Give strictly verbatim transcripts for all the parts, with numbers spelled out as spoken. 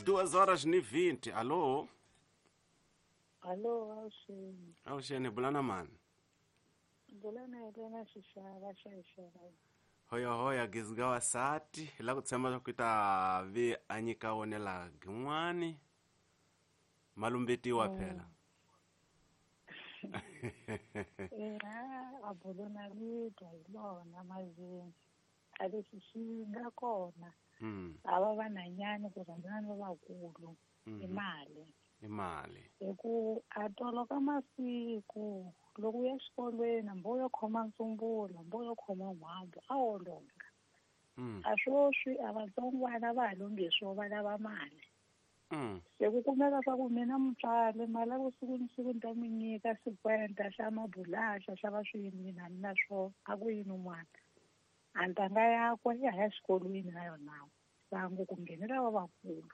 Duas horas ni vinte. Alô? Alô, Alxene. Alxene, bulana mani. Bulana Helena Xixava, Xixava. Hoya hoya gizgawa sati, la ku tshemba ku ta vi a nyika wonela gin'wani. Malumbetiwa phela. Ina a bulana vito hi lona mazini. A leswi swi nga kona. Mm. Ava vanhanyana ku rhandzana ni lavakulu. I mali. I mali. Hi ku a tolo ka masiku loko u ya xikolweni hambi u yo khoma ntsumbula hambi u yo khoma n'hwambu a wo longa. Mm. A swoswi a vatsongwana va ha longhi swo va lava mali. Mm. Se ku kumeka swa ku mina mutswari mali ya ku siku ni siku ni ta mi nyika cinquenta xa mabulaxa xa va swiyini na na swo a ku yini n'wana. A ntanga yakwe ya ha ya xikolweni na yona sangu ku nghenela lavakulu.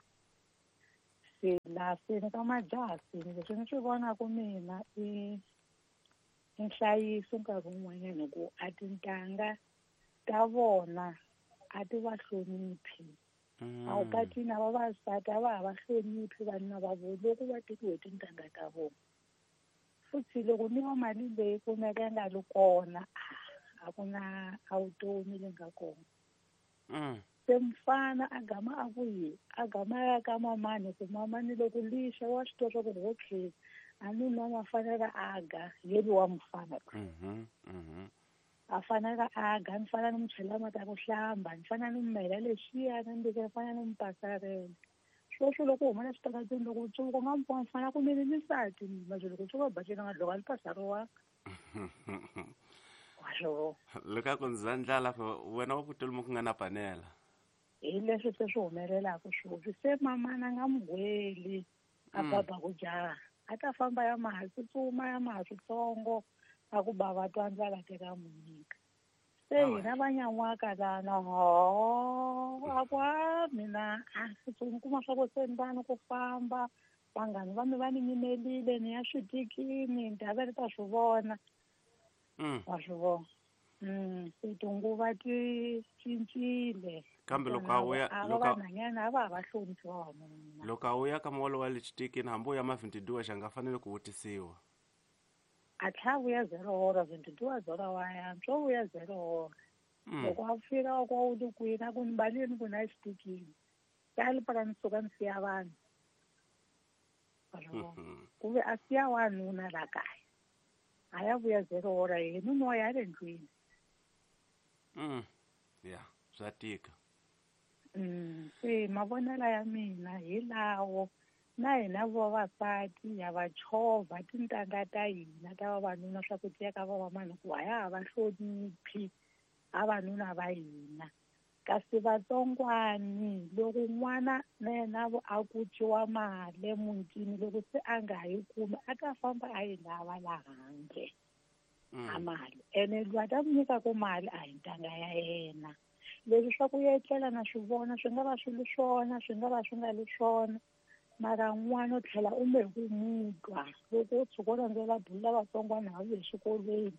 Se laha se ni ka majaha leswi ni swi vonaka mina i i nhlayiso nkarhi wun'wanyana hi ku a tintangha ta vona a ti va hloniphi. A wu patwini na vavasati a va ha va hloniphi vanuna va vona loko va tekiwe tintangha ta vona. Futhi loko ni va mali leyi kumeka yi nga ri kona a ku na a vutomi leyi nga kona. Mm. Se mfana a gama a ku yi a gama a ya ka mamani ku mamani loko lixa wa swi tiva swa ku okay a nuna ma fanele a ga yeli wa mufana. Mhm. Mhm. A fanele a ga ni fanele ni mu chela mati ya ku hlamba ni fanele ni mu mela lexiya ni ni fanele ni mu pasarela. Sweswo loko u huma na switarateni loko u tshuka u nga mu vona mfana ku mina ni nsati manje loko u tshuka u bacile nga dloka ni pasariwanga. Wa swi vona. Loko a ku ndza ndlala wena wa ku tolomu ku nga na panela. Hi leswi se swi humelelaka sweswi se mamana a nga mu gweli a baba ku jaha a ta famba ya maha tsutsuma ya maha switsongo a ku bava twa ndlala teka mu nyika. Se hina va nyan'waka lana ho a ku a mina a ni kuma swa ku se ni va ni ku famba vanghani va mi va ni nyimelile ni ya switikini ni ta va ni ta swi vona. Wa swi vona. Mm, se tinguva ti cincile. Kambe loko a wuya loko vanhanyana a va ha va hloniphi vavanuna. Loko a wuya ka muholo wa le xitikini hambi u ya ma vintiduwa xa nga fanele ku vutisiwa. A tlhela vuya zero hora vintiduwa zero wa yantswa wo vuya zero hora. Loko a fika wa ku u li kwini a ku ni baleni ku na xitikini. Tali para ni suka ni siya vanhu. Ku ve a siya wanuna la kaya. A ya vuya zero hora yena nuna wa ya le ndlwini. Mm. Yeah, swa tika. Mm, se mavonelo ya mina hi lawo na hina vavasati ya va chovha tintangha ta hina ta vavanuna swa ku tiya ka vavamani ku a ya ha va hloniphi vavanuna va hina. Kasi vatsongwani loko n'wana na yena a kuciwa mali emutini loko se a nga ha yi kumi a ta famba a yi lava la handle. A mali ene loyi a ta mu nyikaka mali a hi ntangha ya yena. Leswi swa ku etlela na swi vona swi nga va swi ri swona swi nga va swi nga ri swona mara n'wana u tlhela u me ku mu twa loko u tshuka u landzela bulo la vatsongwana ha vuye exikolweni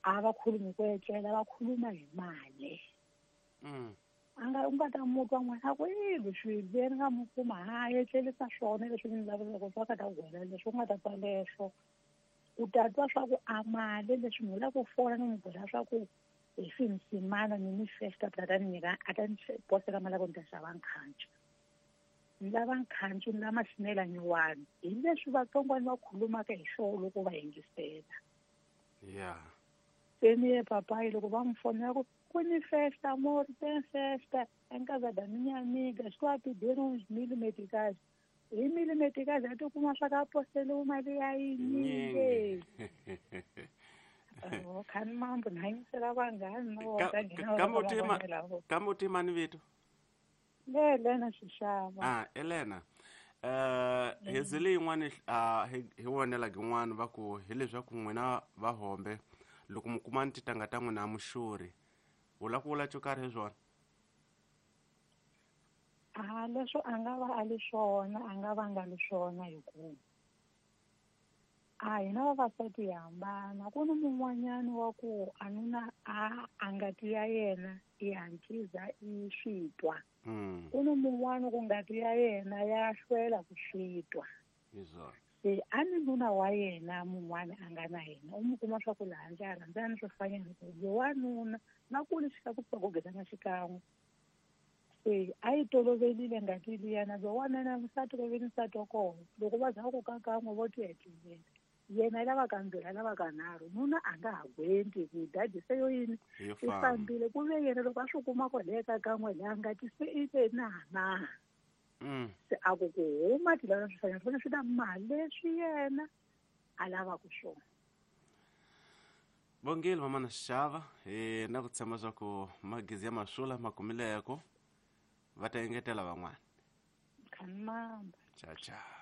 a va khulumi ku etlela va khuluma hi mali. Mm. A nga u nga ta mu twa n'wana a ku i leswi ve ni nga mu kuma ha etlerisa swona leswi ni lavaka swa ka ta gwela leswi u nga ta twa leswo. U ta twa swa ku a mali leswi ni lava ku fona ni n'wi byela swa ku hi finsimana ni ni festa ta ta ni nyika a ta ni posela mali ya ku ni ta xava nkhancu. Ni lava nkhancu ni lava maxinela nyuwani hi leswi vatsongwana va khulumaka hi swona loko va yingisela. Yeah. Se ni ye papayi loko va n'wi fonela ku ku ni festa amor tem festa em casa da minha amiga estou a pedir uns mil meticais. Hi mil meticais a ti kuma swa ka poseliwe mali ya yinyingi. Oh, khani mambo ni hanyisela vanghani na vona nghena Kambe u tima kambe u tima ni vito. Le Elena Xixava. Ah, Elena. Eh hi zile yin'wana ah hi vonela gin'wana va ku hi leswaku n'wina va hombe loko mi kuma ni tintangha ta n'wina muxuri u lava ku vula xo karhi hi swona? A leswo a nga va a li swona a nga va nga li swona hi ku a hina vavasati hi hambana ku ni mun'wanyani wa ku a nuna a a ngati ya yena i hatlisa i swi twa. Mm. Ku ni mun'wana ku ngati ya yena ya hlwela ku swi twa. Hi swona. Se a ni nuna wa yena mun'wana a nga na yena u mu kuma swa ku laha ndzi a rhandzana ni swifanyana ku lowanuna na ku lexi ku pfa ku gezana xikan'we. Se a yi tolovelile ngati liyana lowanuna nsati ku ve ni nsati wa kona loko va za ku ka kan'we vo ti hetelela yena i lava kambirhi a lava kanharhu nuna a nga ha gwenti ku dadi se yo yini Hi yo i famba. fambile ku ve yena loko a swi kuma kwalaya ka kan'we laha ngati se i ve na na. Mm. Se a ku ku huma ti lava swifanyana swi fanele swi na mali leswi yena a lavaka swona. Bongile mamana Xava, hi na ku tshemba swa ku magezi ya masula ma kumileko va ta engetela van'wana. Khanamba. Ciao ciao.